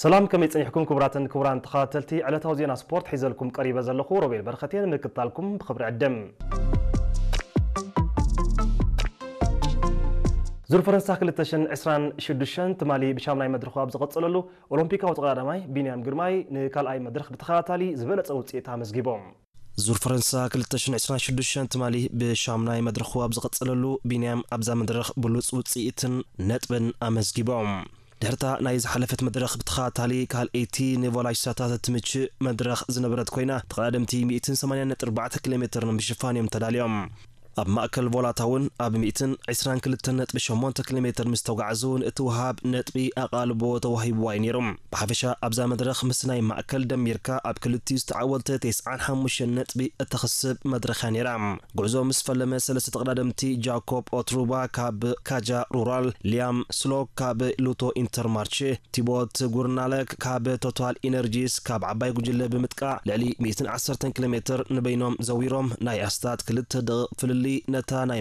ሰላም፣ ከመይ ጸኒሕኩም ክቡራትን ክቡራን ተኸታተልቲ ዕለታዊ ዜና ስፖርት? ሒዘልኩም ቀሪበ ዘለኹ ሮቤል በረኸት እየ። ንምክትታልኩም ብኽብሪ ዕድም። ዙር ፈረንሳ ክልተ ሽሕን ዕስራን ሽዱሽተን ትማሊ ብሻምናይ መድረኹ ኣብ ዝቐጸለሉ፣ ኦሎምፒካዊ ተቐዳዳማይ ቢንያም ግርማይ ንካልኣይ መድረኽ ብተኸታታሊ ዝበለጸ ውጽኢት ኣመዝጊቦም። ዙር ፈረንሳ ክልተ ሽሕን ዕስራን ሽዱሽተን ትማሊ ብሻምናይ መድረኹ ኣብ ዝቐጸለሉ፣ ቢንያም ኣብዛ መድረኽ ብሉጽ ውጽኢትን ነጥብን ኣመዝጊቦም። ድሕርታ ናይ ዝሓለፈት መድረኽ ብተኸታታሊ ካልኣይቲ ንቮላሽሳታት እትምችእ መድረኽ ዝነበረት ኮይና፣ ተቐዳደምቲ ሚእትን ሰማንያን ነጥቢ ኣርባዕተ ኪሎ ሜትር ንምሽፋን እዮም ተዳልዮም። ኣብ ማእከል ቮላታ እውን ኣብ ሚእትን ዕስራን ክልተን ነጥቢ ሸሞንተ ኪሎ ሜትር ምስ ተጓዕዙ፣ ንእትወሃብ ነጥቢ ኣቓልቦ ተዋሂብዋ እዩ ነይሩ። ብሓፈሻ ኣብዛ መድረኽ ምስ ናይ ማእከል ደሚርካ፣ ኣብ ክልቲኡ ዝተዓወተ ተስዓን ሓሙሽተን ነጥቢ እተኽስብ መድረኽ እያ ነይራ። ጉዕዞ ምስ ፈለመ፣ ሰለስተ ተቐዳደምቲ፣ ጃኮብ ኦትሩባ ካብ ካጃ ሩራል፣ ሊያም ስሎክ ካብ ሉቶ ኢንተርማርቼ፣ ቲቦት ጉርናለክ ካብ ቶታል ኢነርጂስ፣ ካብ ዓባይ ጉጅለ ብምጥቃዕ፣ ልዕሊ ሚእትን ዓሰርተን ኪሎ ሜትር ንበይኖም ዘዊሮም፣ ናይ ኣስታት ክልተ ደቂቕ ፍልልይ ነታ ናይ